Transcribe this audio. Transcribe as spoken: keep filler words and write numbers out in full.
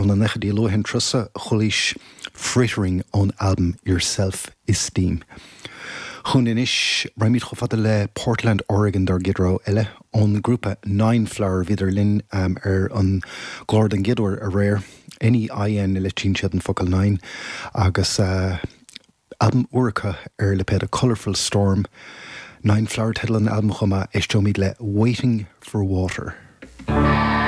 Na nóchaidí luatha an turas chualaís Frittering ón albam Your Self-Esteem. Chun anois raghaimid chomh fada le Portland, Oregon dár gcéad rogha eile ón grúpa Nine Flower. Bhíodar linn um, ar an gclár den gcéad uair aréir. N E I N le siad an focal nine agus uh, albam úr acu ar lipéad Colorful Storm. Nine Flower teideal an albam chuma éisteoimid le Waiting for Water.